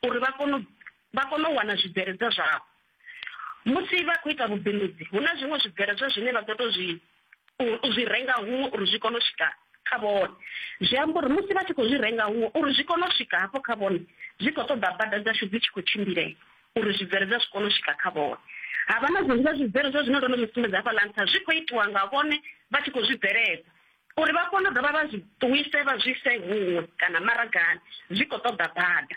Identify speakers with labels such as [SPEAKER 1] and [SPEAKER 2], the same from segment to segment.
[SPEAKER 1] uri vha kone vha kone u wana zwibveledzwa zwavho. Musi vha khou ita vhubindudzi hu na zwiṅwe zwibveledzwa zwine vha ḓo tou zwi u zwi renga huṅwe uri zwi kone u swika kha vhone. Zwi amba uri musi vha tshi khou zwi renga huṅwe uri zwi kone u swika hafho kha vhone zwi khou ṱoḓa bada dzashu dzi tshi khou tshimbilea uri zwibveledzwa zwi kone u swika kha vhone. Ha vha na zwiṅwe zwibveledzwa zwine ndo no zwi sumbedza hafhaḽa nṱha zwi khou itiwa nga vhone vha tshi khou zwi bveledza uri vha kone u dovha vha zwi ṱuwise vha zwi ise huṅwe kana maragani zwi khou ṱoḓa bada.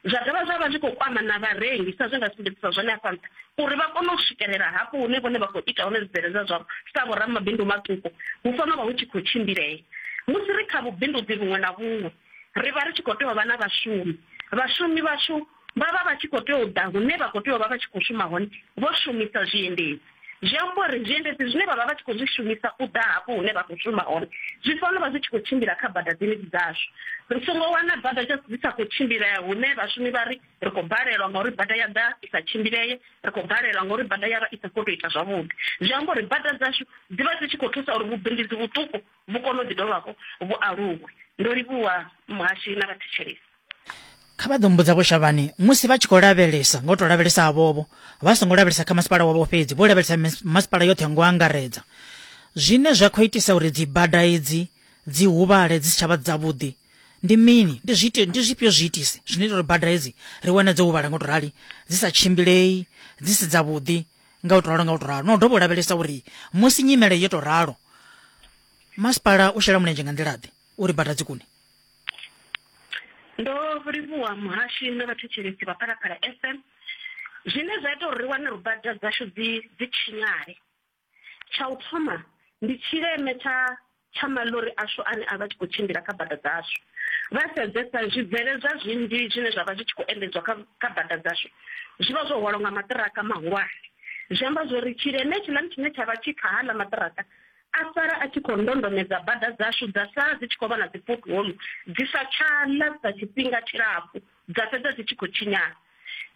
[SPEAKER 1] Zwa dovha zwa vha zwi khou kwama na vharengi sa zwe nda sumbedzisa zwone afha nṱha uri vha kone u swikelela hafho hune vhone vha khou ita hone zwibveledzwa zwavho sa vhoramabindu maṱuku hu fanela u vha hu tshi khou tshimbilea. Musi ri kha vhubindudzi vhuṅwe na vhuṅwe ri vha ri tshi khou tea u vha na vhashumi, vhashumi vhashu vha vha vha tshi khou tea u ḓa hune vha khou tea u vha vha tshi khou shuma hone vho shumisa zwiendedzi. Zwi amba uri zwiendedzi zwine vha vha vha tshi khou zwi shumisa u ḓa hafho hune vha khou shuma hone zwi fanela u vha zwi tshi khou tshimbila kha bada dzenedzi dzashu. Ri songo wana bada dzi sa khou tshimbilea hune vhashumi vha ri ri khou balelwa ngauri bada ya ḓa i sa tshimbilee, ri khou balelwa ngauri bada ya vha i sa khou tou ita zwavhuḓi. Zwi amba uri bada dzashu dzi vha dzi tshi khou thusa uri vhubindudzi vhuṱuku vhu kone u ḓi dovha hafhu vhu aluwe. Ndo livhuwa muhashi na vhathetshelesi.
[SPEAKER 2] Kha vha ḓo mbudza Vho Shavhani, musi vha tshi khou lavhelesa, nga u tou lavhelesa havhovho, vha songo lavhelesa kha masipala wavho fhedzi, vho lavhelesa masipala yoṱhe ngo angaredza. Zwine zwa khou itisa uri dzibada idzi dzi huvhale dzi si tsha vha dzavhuḓi ndi mini? Ndi zwiite, ndi zwifhio zwiitisi zwine ita uri bada hedzi ri wane dzo huvhala ngo tou rali, dzi sa tshimbilei, dzi si dzavhuḓi nga u tou ralo nga u tou ralo? Na u dovha u lavhelesa uri musi nyimele yo tou ralo, masipala u shela mulenzhe nga nḓila-ḓe uri bada dzi kune?
[SPEAKER 1] Ndo livhuwa muhashi na vhathetshelesi vha Phalaphala FM. Zwine zwa ita uri ri wane uri bada dzashu dzi dzi tshinyale, tsha u thoma ndi tshileme tsha tsha maḽori ashu ane a vha tshi khou tshimbila kha bada dzashu. Vha sedzesa zwibveledzwa zwinzhi zwine zwa vha zwi tshi khou endedzwa kha kha bada dzashu zwi vha zwo hwalwa nga maṱiraka mahulwane. Zwi amba zwori tshileme hetshiḽani tshine tsha vha tshi kha haḽa maṱiraka a sala a tshi khou ndondomedza bada dzashu dza sala dzi tshi khou vha na dzi pothole dzi sa tsha ḽa tshifhinga tshilapfu dza fhedza dzi tshi khou tshinyala.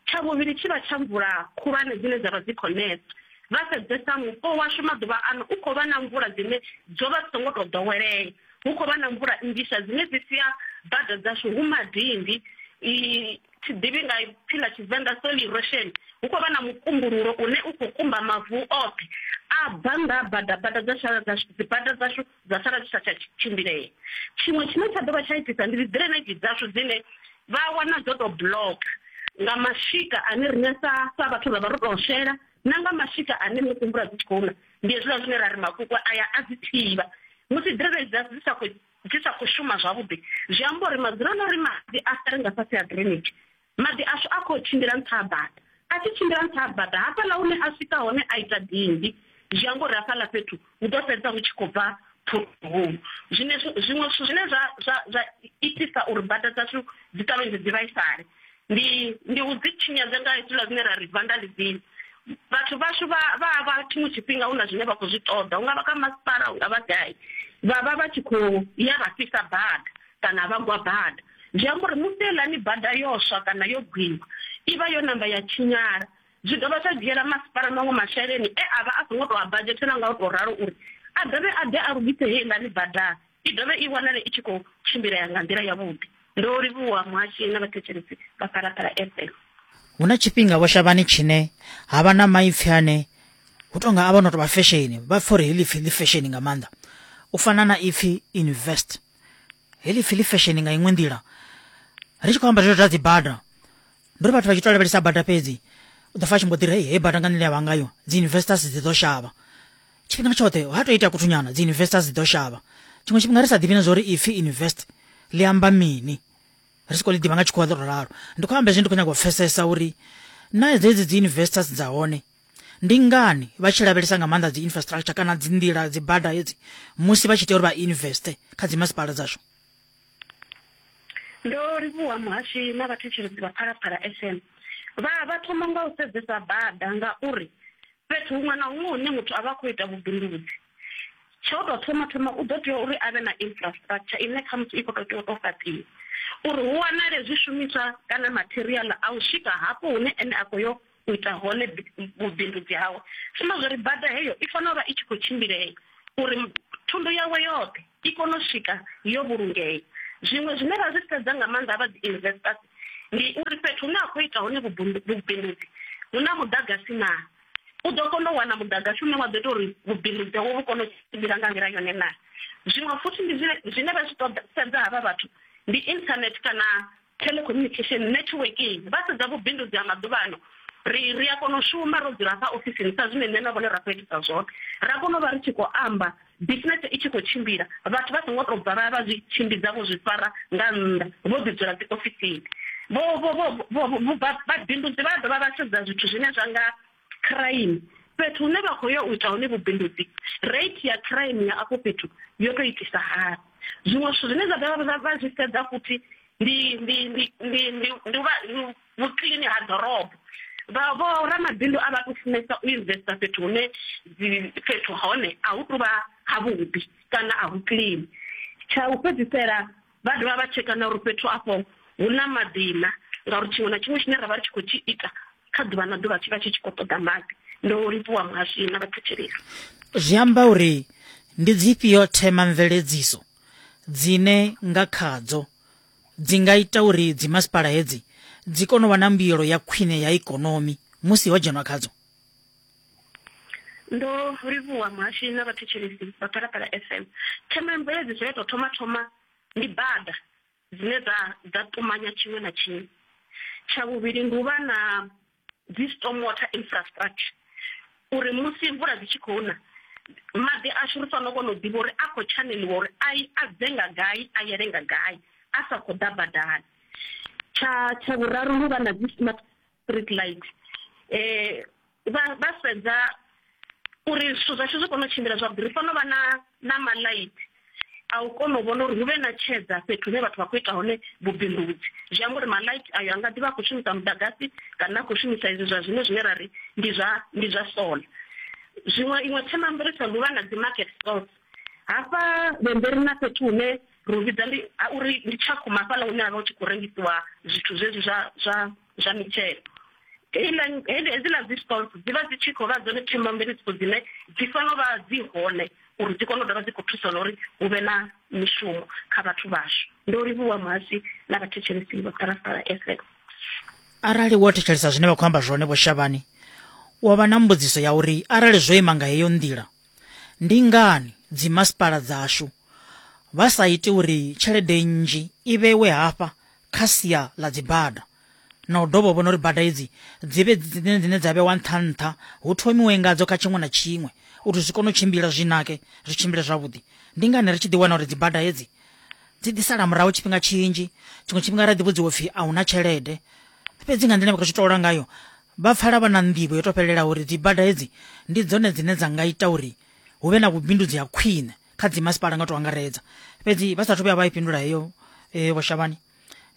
[SPEAKER 1] Tsha vhuvhili tshi vha tsha mvula khulwane dzine dza vha dzi khou nesa. Vha sedzesa mupo washu maḓuvha ano u khou vha na mvula dzine dzo vha dzi songo tou ḓowelea. Hu khou vha na mvula nnzhisa dzine dzi sia bada dzashu hu madindi, thi ḓivhi nga ipfi ḽa Tshivenḓa soil erosion, hu khou vha na mukumbululo une u khou kumba mavu oṱhe a bva nga bada, bada dza sala dza dzibada dzashu dza sala dzi sa tsha tshimbilea. Tshiṅwe tshine tsha dovha tsha itisa ndi dzi drainage dzashu dzine vha wana dzo tou block nga mashika ane riṋe sa sa vhathu ra vha ro tou shela na nga mashika ane musi mvula dzi tshi khou na ndi hezwiḽa zwine ra ri makukwa aya a dzi thivha musi drainage dzashu dzi sa khou dzi sa khou shuma zwavhuḓi zwi amba uri madzuloni uri maḓi a sale nga fhasi ha drainage maḓi ashu a khou tshimbila nṱha ha bada a tshi tshimbila nṱha ha bada hafhaḽa hune a swika hone a ita dindi zwi amba uri hafhaḽa fhethu hu ḓo fhedza hu tshi khou bva phuhulu zwine zwiṅwe zwithu zwine zwa zwa zwa itisa uri bada dzashu dzi ṱavhanye dzi vhaisale ndi ndi u dzi tshinyadza nga hezwiḽa zwine ra ri vandalism vhathu vhashu vha vha vha tshiṅwe tshifhinga hu na zwine vha khou zwi ṱoḓa hu nga vha kha masipala hu nga vha gai vha vha vha tshi khou ya vha fhisa bada kana vha gwa bada zwi amba uri musi heiḽani bada yo swa kana yo gwiwa i vha yo namba ya tshinyala zwi dovha zwa dzhiela masipala maṅwe masheleni e a vha a songo tou a badzhetela nga u tou ralo uri a dovhe a ḓe a lugise heiḽani bada i dovhe i wanale i tshi khou tshimbilea nga nḓila yavhuḓi. Ndo livhuwa muhashi na vhathetshelesi vha Phalaphala FM.
[SPEAKER 2] Hu na tshifhinga Vho Shavhani tshine ha vha na maipfi ane hu tonga a vha no tou vha fesheni, vha pfa uri heḽi pfi ḽi fesheni nga maanḓa. U fana na ipfi invest. Heḽi pfi ḽi fesheni nga iṅwe nḓila. Ri tshi khou amba zwezwo zwa dzi bada, ndi uri vhathu vha tshi tou lavhelesa bada fhedzi, u ḓo pfa a tshi mbo ḓi ri hei bada nga nḓila ya vha ngayo dzi investors dzi ḓo shavha. Tshifhinga tshoṱhe ha tou itea kuthunyana dzi investors dzi ḓo shavha. Tshiṅwe tshifhinga ri sa ḓivhi na zwa uri ipfi invest ḽi amba mini, ri sokou ḽi ḓivha nga tshikhuwa ḽo tou ralo. Ndi khou amba hezwi ndi khou nyaga u pfesesa uri na dzedzi dzi investors dza hone ndi ngani vha tshi lavhelesa nga maanḓa dzi infrastructure kana dzi nḓila dzi bada hedzi musi vha tshi tea uri vha investe kha dzi masipala dzashu.
[SPEAKER 1] Ndo livhuwa muhashi na vhathetshelesi vha Phalaphala FM. Vha vha thoma nga u sedzesa bada ngauri Fhethu huṅwe na huṅwe hune muthu a vha a khou ita vhubindudzi, tsha u tou thoma thoma u ḓo tea uri a vhe na infrastructure ine khamusi i khou tou tea u tou fhaṱiwa uri hu wanale zwishumiswa kana matheriaḽa a u swika hafho hune ene a khou yo u ita hone vhubindudzi hawe. Zwi amba zwori bada heyo i fanela u vha i tshi khou tshimbilea uri thundu yawe yoṱhe i kone u swika yo vhulungea. Zwiṅwe zwine ra zwi sedza nga maanḓa vha dzi investors ndi uri fhethu hune khou ita hone vhubindudzi hu na muḓagasi naa? U ḓo kona u wana muḓagasi une wa ḓo ita uri vhubindudzi hawe vhu kone u tshimbila nga nḓila yone naa? Zwiṅwe futhi ndi zwine vha zwi ṱoḓa sedza havha vhathu ndi internet kana telecommunication networking. Vha sedza vhubindudzi ha maḓuvha ano, ri ri a kona u shuma ro dzula hafha ofisini sa zwine nṋe na vhone ra khou itisa zwone, ra kona u vha ri tshi khou amba bisinese i tshi khou tshimbila, vhathu vha songo tou bva vha ya vha zwi tshimbidza vho zwi fara nga nnḓa vho ḓi dzula dzi ofisini. Vho vho vho vho vhabindudzi vha dovha vha sedza zwithu zwine zwa nga crime, fhethu hune vha khou ya u ita hone vhubindudzi, rate ya crime ya afho fhethu yo tou itisa hani. Zwiṅwe zwithu zwine zwa dovha vha zwi sedza futhi ndi ndi ndi ndi ndi ndi vha vhukiḽini ha ḓorobo. Vha vho ramabindu a vha tu funesa u investor fhethu hune dzi fhethu hone a hu tuvha havhuḓi kana a hu clean. Tsha u fhedzisela vha dovha vha tsheka na uri fhethu afho hu na maḓi na, ngauri tshiṅwe na tshiṅwe tshine ra vha ri tshi khou tshi ita kha ḓuvha na ḓuvha tshi vha tshi tshi khou ṱoḓa maḓi. Ndo livhuwa muhashi na vhathetshelesi.
[SPEAKER 2] Zwi amba uri ndi dzifhio themamveledziso dzine nga khadzo dzi nga ita uri dzimasipala hedzi dzi kone u vha na mbuyelo ya khwine ya ikonomi musi ho dzhenwa khadzo?
[SPEAKER 1] Ndo livhuwa muhashi na vhathetshelesi vha Phalaphala FM. Themamveledziso ya tou thoma thoma ndi bada dzine dza dza ṱumanya tshiṅwe na tshiṅwe. Tsha vhuvhili ndi u vha na dzi storm water infrastructure uri musi mvula dzi tshi khou na maḓi ashu ri fanela u kona u ḓivha uri a khou tshaneliwa uri a a bve nga gai a yele nga gai a sa khou ḓa badani. Tsha tsha vhuraru ndi u vha na dzi smart street light vha vha sedza uri zwithu zwashu zwi kone u tshimbila zwavhuḓi ri fanela u vha na na maḽaithi a u kona u vhona uri hu vhe na tshedza fhethu hune vhathu vha khou ita hone vhubindudzi. Zwi amba uri maḽaithi ayo a nga ḓi vha a khou shumisa muḓagasi kana a khou shumisa izwi zwa zwino zwine ra ri ndi zwa ndi zwa solar. Zwiṅwe iṅwe themamveledziso ndi u vha na dzi market stalls hafha Vhembe ri na fhethu hune ri hu vhidza ndi uri ndi Tshakhuma hafhaḽa hune ha vha hu tshi khou rengisiwa zwithu zwezwi zwa zwa zwa mitshelo. Heiḽa hedziḽa dzi stalls dzi vha dzi tshi khou vha dzone themamveledziso dzine dzi fanela u vha dzi hone uri dzi kone u dovha dzi khou thusa na uri hu vhe na mishumo kha vhathu vhashu. Ndo livhuwa muhasi na vhathetshelesi vha Phalaphala FM.
[SPEAKER 2] Arali wo thetshelesa zwine vha khou amba zwone Vho Shavhani, wa vha na mbudziso ya uri arali zwo ima nga heyo nḓila, ndi ngani dzimasipala dzashu vha sa iti uri tshelede nnzhi i vhewe hafha kha sia ḽa dzibada na u dovha u vhona uri bada idzi dzi vhe dzine dzine dza vhewa nṱha nṱha hu thomiwe ngadzo kha tshiṅwe na tshiṅwe uri zwi kone u tshimbila zwi nake zwi tshimbile zwavhuḓi. Ndi ngani ri tshi ḓi wana uri dzibada hedzi dzi ḓi sala murahu tshifhinga tshinzhi, tshiṅwe tshifhinga ra ḓi vhudziwa upfhi a huna tshelede, fhedzi nga nḓila vha khou zwi tola ngayo vha pfala vha na nḓivho yo to fhelelaho uri dzibada hedzi ndi dzone dzine dza nga ita uri hu vhe na vhubindudzi ha khwine kha dzimasipala nga u to angaredza. Fhedzi vha sathu vhuya vha i fhindula heyo Vho Shavhani,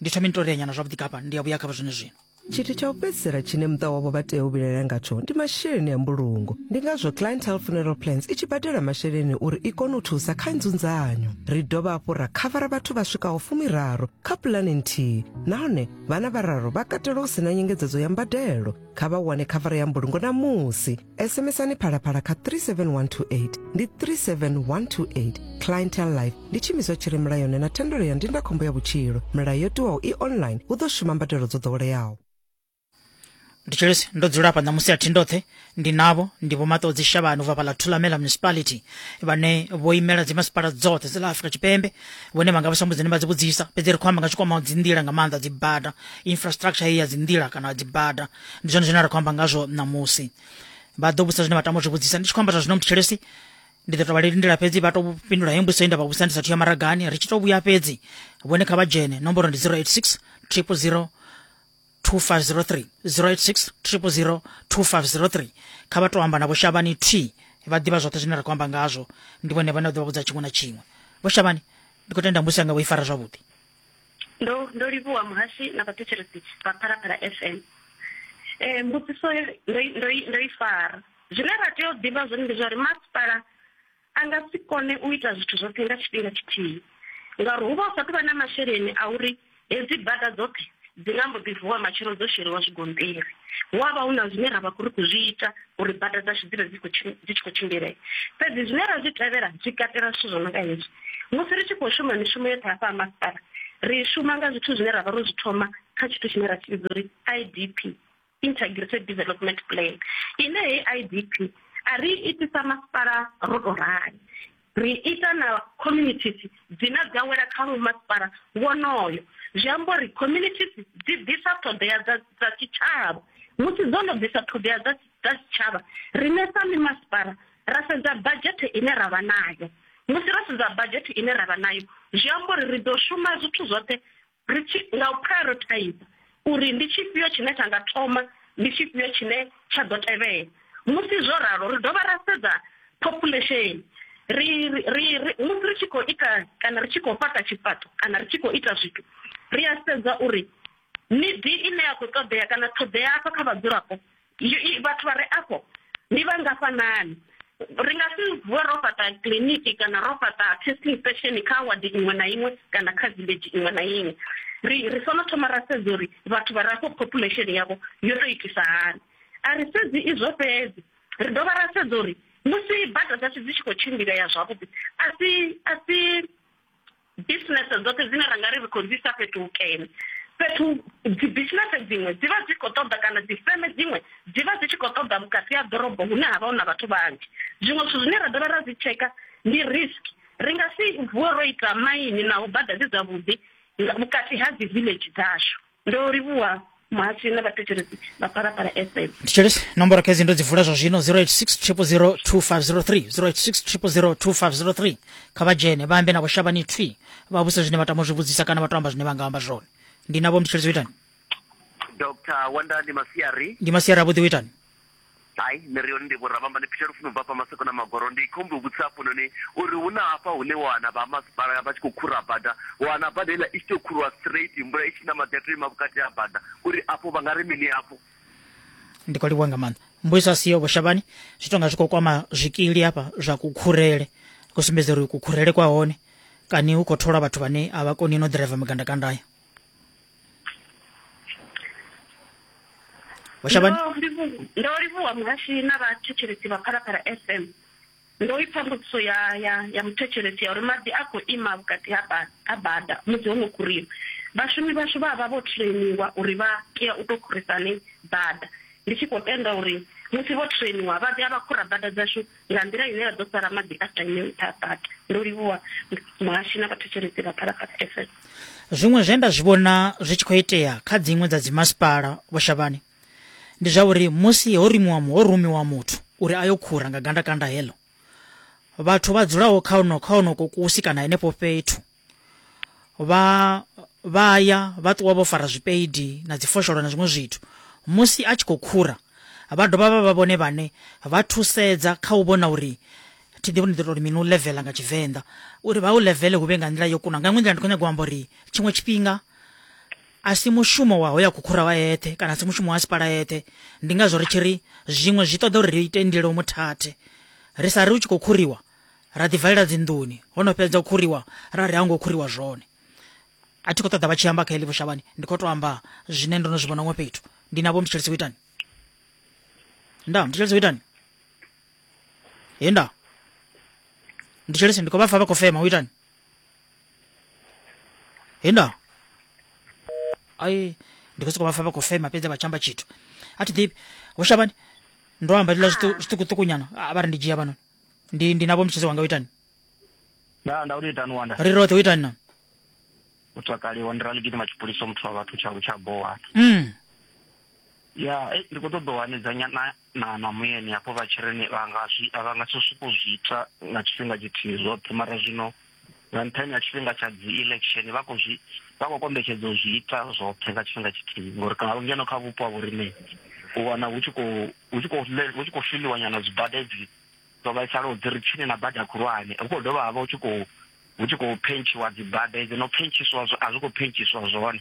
[SPEAKER 2] ndi thome ni to rea nyana zwavhuḓi kafha ndi a vhuya kha zwone zwino.
[SPEAKER 3] Tshithu tsha u fhedzisela tshine muṱa wavho vha tea u vhilaela ngatsho ndi masheleni a mbulungo. Ndi ngazwo Clientele Funeral Plans i tshi badela masheleni uri i kone u thusa kha nzunzanyo. Ri dovha hafhu ra khavara vhathu vha swikaho fumiraru kha pulane nthihi nahone vhana vhararu vha katelwa hu si na nyengedzedzo ya mbadelo. Kha vha wane khavara ya mbulungo ṋamusi. SMSani Phalaphala kha 37128 ndi 37128. Clientele Life ndi tshiimiswa tshi re mulayoni na thendelo ya ndindakhombo ya vhutshilo. Milayo yo tiwaho i online, hu ḓo shuma mbadelo dzo ḓoweleaho.
[SPEAKER 2] Nditshelesi ndo dzula hafha ṋamusi a thi ndoṱhe ndi navho ndi Vho Maṱodzi Shavhani ubva fhaḽa Thulamela Municipality vhane vho imela dzimasipala dzoṱhe dza ḽa Afrika Tshipembe vhone vha nga vha sa mbudzini vha dzi vhudzisa fhedzi ri khou amba nga tshikwamaho dzinḓila nga maanḓa dzibada infrastructure heyi ya dzinḓila kana dzibada ndi zwone zwine ra khou amba ngazwo ṋamusi vha ḓo vhudzisa zwine vha tama u zwi vhudzisa ndi tshi khou amba zwa zwino mthetshelesi ndi ḓo tou vha lindela fhedzi vha tou fhindula heyo mbudziso ye nda vha vhudzisa ndi sathu ya maragani ri tshi tou vhuya fhedzi vhone kha vha dzhene nomboro ndi 086 000 2503 086 000 2503 kha vha tou amba na Vho Shavhani t vha ḓivha zwoṱhe zwine ra khou amba ngazwo ndi vhone vhane vha ḓo vha vhudza tshiṅwe na tshiṅwe Vho Shavhani ndi khou tenda mbudziso yanga vho i fara zwavhuḓi.
[SPEAKER 1] Ndo ndo livhuwa muhashi na vhathetshelesi vha Phalaphala FM. Eh mbudziso ndo ndo ndo i fara. Zwine ra tea u ḓivha zwone ndi zwa uri masipala a nga si kone u ita zwithu zwoṱhe nga tshifhinga tshithihi ngauri hu vha hu sa tou vha na masheleni a uri hedzi bada dzoṱhe dzi nga mbo ḓi vuwa matshelo dzo sheliwa zwigonṱiri. Hu a vha hu na zwine ra vha ri khou zwi ita uri bada dzashu dzi vhe dzi dzi tshi khou tshimbilea. Fhedzi zwine ra zwi tevhela zwi katela zwithu zwo no nga hezwi. Musi ri tshi khou shuma mishumo yoṱhe hafha ha masipala, Ri shuma nga zwithu zwine ra vha ro zwi thoma kha tshithu tshine ra tshi vhidza uri IDP, Integrated Development Plan. Ine heyi IDP a ri itisa masipala ro to rali, ri ita na communities dzine dza wela kha masipala wonoyo. Zwi amba uri communities dzi ḓisa ṱhoḓea dza dza tshitshavha. Musi dzo no ḓisa ṱhoḓea dza dza tshitshavha, riṋe sa mimasipala ra sedza badzhethe ine ra vha nayo. Musi ro sedza badzhethe ine ra vha nayo, zwi amba uri ri ḓo shuma zwithu zwoṱhe ri tshi nga u prioritize uri ndi tshifhio tshine tsha nga thoma, ndi tshifhio tshine tsha ḓo tevhela. Musi zwo ralo, ri dovha ra sedza population. Ri, ri, ri, musi ri tshi khou ita kana ri tshi khou fhaṱa tshifhaṱo kana ri tshi khou ita zwithu, ri a sedza uri nidi ine ya khou ṱoḓea kana ṱhoḓea afha kha vhadzulapo, vhathu vha re afho ndi vhangafhanani. Ri nga si vuwe ro fhaṱa kiḽiniki kana ro fhaṱa testing station kha wadi iṅwe na iṅwe kana kha village iṅwe na iṅwe. Ri ri fanela thoma ra sedza uri vhathu vha re afho population yavho yo to itisa hani. A ri sedzi izwo fhedzi, ri dovha ra sedza uri musi bada dzashu dzi tshi khou tshimbilea zwavhuḓi a si a si Bisinese dzoṱhe dzine ra nga ri ri khou dzi isa fhethu hukene, fhethu dzi bisinese dziṅwe dzi vha dzi khou ṱoḓa kana dzi feme dziṅwe dzi vha dzi tshi khou ṱoḓa vhukati ha ḓorobo hune ha vha hu na vhathu vhanzhi. Zwiṅwe zwithu zwine ra dovha ra zwi tsheka ndi risk, ri nga si vuwe ro ita maini naho bada dzi dzavhuḓi vhukati ha dzi village dzashu. Ndo livhuwa muhasho na vhathetshelesi vha Phalaphala FM.
[SPEAKER 2] Thetshelesi nomboro khedzi ndo dzi vula zwa zwino 086 000 2503 086 000 2503 kha vha dzhene vha ambe na vho Shavhani thwi vha vhuse zwine vha tama u zwi vhudzisa kana vha to amba zwine vha nga amba zwone. Ndi navho mthetshelesi u itani?
[SPEAKER 4] Dr. Wanda ndi masiari.
[SPEAKER 2] Ndi masiari avhuḓi u itani?
[SPEAKER 4] Hai, nṋe ri hone ndi Vho Ravhamba, ndi Peter Lufuno ubva hafha Maseko na Magoro. Ndi khou humbela u vhudzisa hafhanoni uri hu na hafha hune wa wana vha ha masipala vha tshi khou khura bada, wa wana bada heiḽa i tshi tou khuriwa straight, mvula i tshi na maḓi a tou ima vhukati ha bada, uri afho vha nga ri mini hafho?
[SPEAKER 2] Ndi khou livhuwa nga maanḓa. Mbudziso a siyo Vho Shavhani, zwi tonga zwi khou kwama zwikili hafha zwa kukhurele, khou sumbedza uri kukhurele kwa hone kani hu khou tholwa vhathu vhane a vha koni no ḓiraiva magandakanda aya. Vho Shavhani?
[SPEAKER 1] Ndo livhuwa muhashi na vhathetshelesi vha Phalaphala FM. Ndo ipfa mbudziso ya ya ya muthetshelesi ya uri maḓi a khou ima vhukati ha ha bada musi ho no khuriwa. Vhashumi vhashu vha vha vho trainiwa uri vha tea u tou khurisa hani bada. Ndi tshi khou tenda uri musi vho trainiwa vha ḓa vha khura bada dzashu nga nḓila ine ya ḓo sala maḓi a sa ime nṱha ha bada. Ndo livhuwa muhashi na vhathetshelesi vha Phalaphala FM.
[SPEAKER 2] Zwiṅwe zwe nda zwi vhona zwi tshi khou itea kha dziṅwe dza dzimasipala Vho Shavhani ndi zwa uri musi ho rumiwa ho rumiwa muthu uri a yo khura nga gandakanda heḽo, vhathu vha dzulaho kha ono kha honoko kusi kana henefho fhethu vha vha ya vha ṱuwa vho fara zwipeidi na dzifosholo na zwiṅwe zwithu. Musi a tshi khou khura vha dovha vha vha vhone vhane vha thusedza kha u vhona uri thi ḓivhi ndi ḓo tou mini u leveḽa nga tshivenḓa uri vha u leveḽe hu vhe nga nḓila yo kuna. Nga iṅwe nḓila ndi khou nyaga u amba uri tshiṅwe tshifhinga a si mushumo wa hoya khukhura wa eṱhe kana a si mushumo wa sipala eṱhe. Ndi ngazwo ri tshi ri zwiṅwe zwi ṱoḓa uri ri ite ndilo muthathe, ri sa ri u tshi khou khuriwa ra ḓi valela dzinḓuni, ho no fhedza u khuriwa ra ri a ngo khuriwa zwone. A thi khou ṱoḓa vha tshi amba kha heḽi Vho Shavhani, ndi khou tou amba zwine ndo no zwi vhona huṅwe fhethu. Ndi na Vho Mthetshelesi u itani? Nda Mthetshelesi u itani? He nda Mthetshelesi ndi khou vha pfa vha khou fema, u itani? He nda ai ndi khou sokou vha pfa vha khou fema fhedzi vha tshi amba tshithu a thi ḓivhi. Vho Shavhani ndo amba hezwiḽa zwiṱukuṱuku nyana a vha ri ndi dzhia vhanoni. Ndi ndi na Vho Mthetshelesi wanga u itani?
[SPEAKER 5] Nda nda uri itani wanda.
[SPEAKER 2] Ri roṱhe u itani na?
[SPEAKER 5] U takaliwa ndi rali gidima tshipuliso muthu wa vhathu tsha tsha bowa. Ya, ndi khou ṱoḓa u hanedzanya na na na muyeni hafho vha tshi ri ni vha nga zwi vha nga si sokou zwi ita nga tshifhinga tshithihi zwoṱhe, mara zwino nga nṱhani ha tshifhinga tsha dzi election vha khou zwi vha khou kombetshedza u zwi ita zwoṱhe nga tshifhinga tshithihi, ngori nga ngeno kha vhupo ha vhoriṋe u wana hu tshi khou hu tshi khou hu tshi khou filiwa nyana dzibada edzi dzo vhaisalaho dzi ri tsini na bada khulwane, hu khou dovha havha hu tshi khou hu tshi khou phentshiwa dzibada edzi no phentshiswa a zwi khou phentshiswa zwone.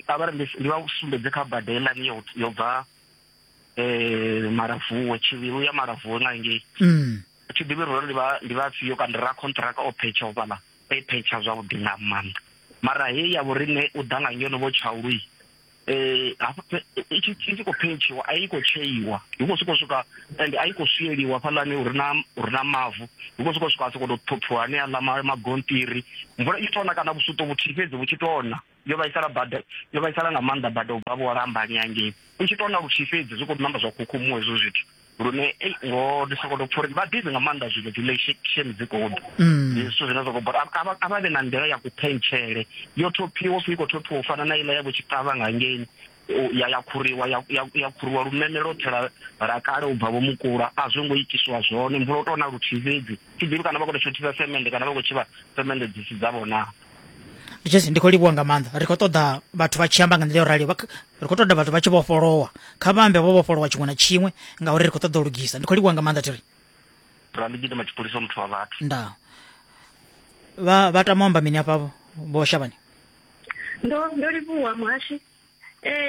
[SPEAKER 5] A vha ri ndi vha sumbedze kha bada heiḽani yo yo bva Malavuwe tshivhilu ya Malavuwe nga ngei. Thi ḓivhi uri ndi vha ndi vhafhio kana ndi ra contract o phetsha fhaḽa o i phetsha zwavhuḓi nga maanḓa, mara heyi ya vhoriṋe u ḓa nga ngeno vho Tshaulu. Hafha i tshi khou phetshiwa a i khou tsheiwa, hu khou sokou swika ende a i khou swieliwa hafhaḽani hu re na hu re na mavu, hu khou sokou swika ha sokou tou ṱhophiwa haneaḽa magonṱiri. Mvula i tshi tou na kana vhusuṱo vhuthihi fhedzi vhu tshi tou na, yo vhaisala bada, yo vhaisala nga maanḓa bada u bva vho Lambani hangei. I tshi tou na luthihi fhedzi zwi khou ṋamba zwa khukhumuwa hezwo zwithu. Lune ei ngoho ndi sokou tou pfha uri vha bizi nga maanḓa zwino dzi election dzi khou ḓa. Ndi zwithu zwine zwa khou bora. A vha vhe na nḓila ya kuphentshele yo thophiwa upfhi i khou thophiwa u fana na iḽa ya vho Tshikavha nga hangeini ya ya khuriwa ya ya ya khuriwa lumeme lwoṱhe lwa lwa kale u bva vho Mukula a zwo ngo itiswa zwone mvula u tou na luthihi fhedzi. Thi ḓivhi kana vha khou tou shothisa semende kana vha khou tshivha semende dzi si dzavho naa.
[SPEAKER 2] Ndi Jesse ndi khou livhuwa nga maanḓa ri khou ṱoḓa vhathu vha tshi amba nga nḓila yo raliho ri khou ṱoḓa vhathu vha tshi vhofholowa kha vha ambe vho vhofholowa tshiṅwe na tshiṅwe ngauri ri khou ṱoḓa u lugisa ndi khou livhuwa nga maanḓa thiri
[SPEAKER 5] Ra ndi gidima tshipholisa muthu wa vhathu.
[SPEAKER 2] Nda vha vha tama u amba mini afha vho Shavhani?
[SPEAKER 1] Ndo ndo livhuwa muhashi.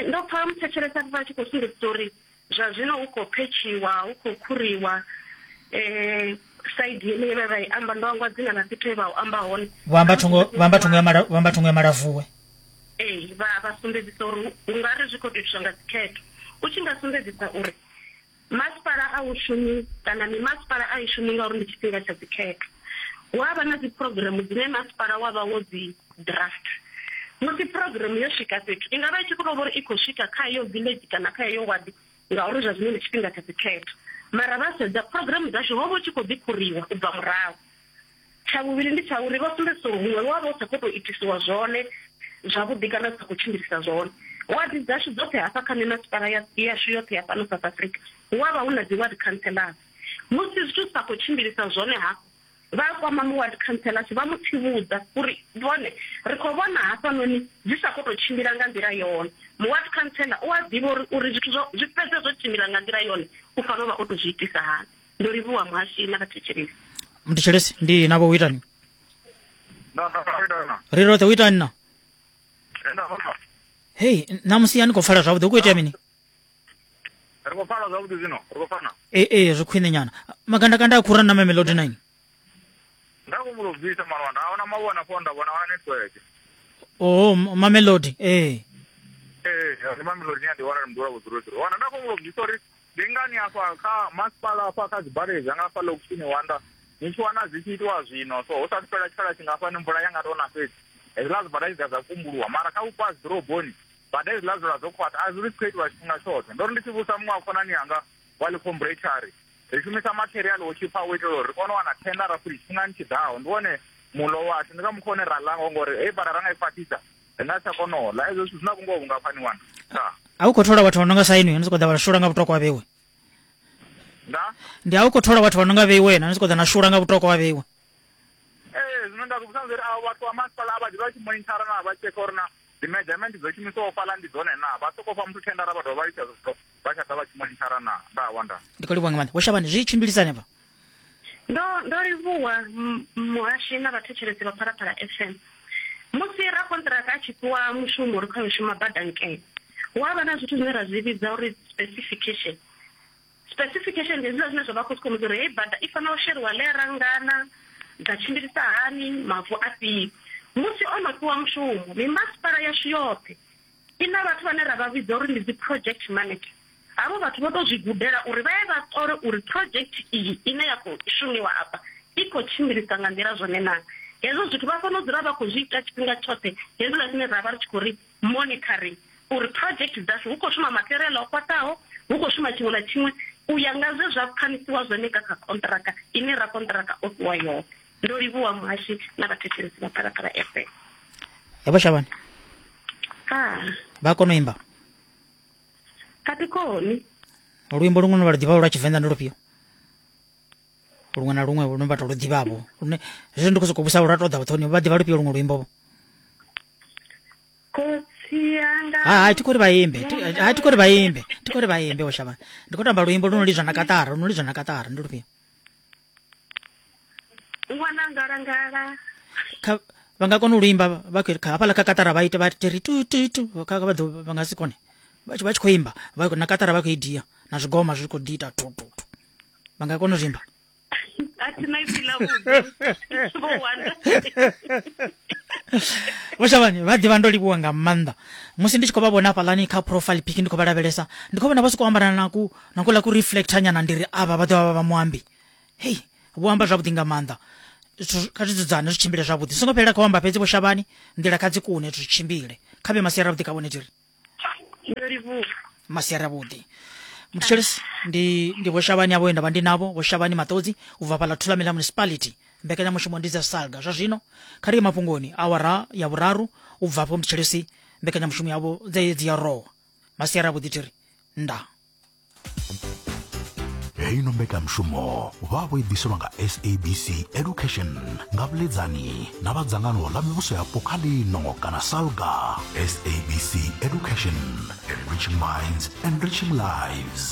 [SPEAKER 1] Ndo pfa muthetshelesa vha tshi khou sumbedzisa uri Zwa zwino hu khou phetshiwa, hu khou khuriwa saidi yeneyi vhe vha i amba, ndo hangwa dzina ḽa fhethu he vha u amba hone.
[SPEAKER 2] Vho amba thungo, vho amba thungo ya mala, vho amba thungo ya Malavuwe.
[SPEAKER 1] Ee, vha vha sumbedzisa uri hu nga ri zwi khou tou itiswa nga dzikhetho. U tshi nga sumbedzisa uri masipala a u shumi kana mimasipala a i shumi ngauri ndi tshifhinga tsha dzikhetho. Hu a vha na dzi programm dzine masipala wa vha wo dzi draft. Musi phurogireme yo swika fhethu, i nga vha i tshi khou tou vha uri i khou swika kha heyo village kana kha heyo wadi ngauri zwa zwino ndi tshifhinga tsha dzikhetho. Mara vha sedza phurogireme dzashu ho vha hu tshi khou ḓi khuriwa u bva murahu. Tsha vhuvhili ndi tsha uri vho sumbedzisa uri huṅwe wa vha u sa khou tou itisiwa zwone zwavhuḓi kana u sa khou tshimbilisa zwone. Wadi dzashu dzoṱhe hafha kha mimasipala yashu yoṱhe ya fhano South Africa hu a vha hu na dzi ward councillors. Musi zwithu zwi sa khou tshimbilisa zwone hafho, Vha kwama mu-ward councillors vha mu tsivhudza uri vhone ri khou vhona hafhanoni zwi sa khou tou tshimbila nga nḓila yone. Mu-ward councillor u a ḓivha uri uri zwithu zwo zwi fhedze zwo tshimbila nga nḓila yone u fanela u vha o tou zwi itisa hani. Ndo livhuwa muhashi na vhathetshelesi.
[SPEAKER 2] Muthetshelesi ndi navho u itani? Ri roṱhe u itani na? Hei, ṋamusi a ni khou pfala zwavhuḓi hu khou itea mini?
[SPEAKER 6] Ri khou pfala zwavhuḓi zwino, ri khou pfana.
[SPEAKER 2] Ee, ee, zwi khwine nyana. Magandakanda a khura na Mamelodi 9.
[SPEAKER 6] Nda khou humbula u bvisa mara nda vhona mavhona fo nda vhona wana network.
[SPEAKER 2] Oh, Mamelodi, ee.
[SPEAKER 6] Ee, ndi Mamelodi ndi wana ndi mudula vhudzulo dzulo. Wana nda khou humbula u bvisa uri ndi ngani afha kha masipala afha kha dzibadela dza nga afha lokishini wanda ni tshi wana zwi tshi itiwa zwino so hu sathu fhela tshikhala tshingafhani mvula ya nga tou na fhedzi hezwiḽa zwibada zwi ḓa zwa kumbuluwa mara kha vhupo ha dziḓoroboni Bada hedziḽa dzula dzo khwaṱha, a zwi ri khou itiwa tshifhinga tshoṱhe. Ndo ri ndi tshi vhusa muṅwe wa khonani yanga wa ḽikhombuletsha a ri, Ri shumisa matheriaḽa wo tshipfa u itela uri ri kone u wana thendara futhi tshifhingani tshi ḓaho. Ndi wone muḽo washu, ndi nga mukhoa une ra ḽa ngawo ngori heyi bada ra nga i khwaṱhisa ri nga si tsha kona u ḽa. Hezwo zwithu zwi na vhungoho vhungafhani ṅwana? Ndaa.
[SPEAKER 2] A u khou thola vhathu vha no nga sa inwi, ni sokou ḓa vha shula nga vhutoko ha vheiwe.
[SPEAKER 6] Ndaa?
[SPEAKER 2] Ndi a u khou thola vhathu vha no nga vheiwe na, ni sokou ḓa na shula nga vhutoko ha vheiwe.
[SPEAKER 6] Ee, zwino nda vhudzisa uri avho vhathu vha masipala a vha ḓi vha tshi monithara na vha tshekha uri na dzi measurement dzo shumiswaho fhaḽa ndi dzone naa, vha sokou fha muthu thendara vha dovha vha litsha zwithu vha tsha ḓa vha tshi monithara naa. Nda wa nda.
[SPEAKER 2] Ndi khou livhuwa nga maanḓa. Vho Shavhani, zwi tshimbilisa hanefha?
[SPEAKER 1] Ndo ndo livhuwa muhashi na vhathetshelesi vha Phalaphala FM. Musi rakonṱiraka a tshi fhiwa mushumo uri kha yo shuma bada nkene, hu a vha na zwithu zwine ra zwi vhidza uri specification. Specification ndi hezwiḽa zwine zwa vha khou sumbedza uri heyi bada i fanela u sheliwa ḽera ngana, dza tshimbilisa hani, mavu afhio. Musi o no fhiwa mushumo, mimasipala yashu yoṱhe i na vhathu vhane ra vha vhidza uri ndi dzi project manager. Havho vhathu vho tou zwi gudela uri vha ye vha ṱole uri project iyi ine ya khou shumiwa afha i khou tshimbilisa nga nḓila zwone naa. Hezwo zwithu vha fanela u dzula vha khou zwi ita tshifhinga tshoṱhe hezwiḽa zwine ra vha ri tshi khou ri monitoring uri project dzashu hu khou shuma material o khwaṱhaho, hu khou shuma tshiṅwe na tshiṅwe u ya nga zwe zwa pfanisiwa zwone nga kha konṱiraka ine rakonṱiraka o fhiwa yone. Ndo livhuwa muhashi na vhathetshelesi vha Phalaphala FM.
[SPEAKER 2] Vho Shavhani.
[SPEAKER 1] Ah.
[SPEAKER 2] Vha kona u imba?
[SPEAKER 1] A thi koni.
[SPEAKER 2] Luimbo luṅwe lune vha lu ḓivha lwa Tshivenḓa ndi lufhio? Luṅwe na luṅwe lune vha to lu ḓivhavho lune hezwi ndi khou sokou vhusa lwa tou ḓa vhuṱhoni vha ḓivha lufhio luṅwe luimbo vho?
[SPEAKER 1] Khotsi anga.
[SPEAKER 2] Ha ha thi khou ri vha imbe. Ha thi khou ri vha imbe. Thi khou ri vha imbe vho Shavhani. Ndi khou tamba luimbo lu no lidzwa na katara, lu no lidzwa na katara ndi lufhio?
[SPEAKER 1] Ṅwana ngalangala.
[SPEAKER 2] Kha vha nga kona u luimba vha khou kha hafhaḽa kha katara vha ite vha ri tu tu tu kha vha ḓo vha nga si kone. Vha tshi vha tshi khou imba vha na katara vha khou i dia na zwigoma zwi khou ḓi ita tu tu tu. Vha nga kona u zwi imba?
[SPEAKER 1] A thi na ipfi ḽa vhuḓi. Vho wanda.
[SPEAKER 2] Vho Shavhani vha ḓivha ndo livhuwa nga maanḓa musi ndi tshi khou vha vhona hafhaḽani kha profile pic ndi khou vha lavhelesa ndi khou vhona vha sokou ambara na ku na kuḽa ku reflector nyana ndi ri avha vha ḓo vha vha muambi hei vho amba zwavhuḓi nga maanḓa zwithu kha zwi dzudzane zwi tshimbile zwavhuḓi zwi songo fhelela kha u amba fhedzi Vho Shavhani nḓila kha dzi kune zwi tshimbile kha vhe masiari avhuḓi kha vhone tiri
[SPEAKER 1] Ndo livhuwa.
[SPEAKER 2] Masiari avhuḓi mthetshelesi ndi ndi Vho Shavhani avho nda vha ndi navho Vho Shavhani Maṱodzi u bva fhaḽa Thulamela Municipality mbekanyamushumo ndi dza salga zwa zwino kha ri ye mafhungoni awara ya vhuraru u bva afho mthetshelesi mbekanyamushumo yavho dze dzi ya rowa masiari avhuḓi tiri nda.
[SPEAKER 7] Heino mbekanyamushumo vha vho i ḓiselwa nga SABC Education nga vhuledzani na vha dzangano ḽa mivhuso yapo kha ḽino kana SALGA. SABC Education, enriching minds, enriching lives.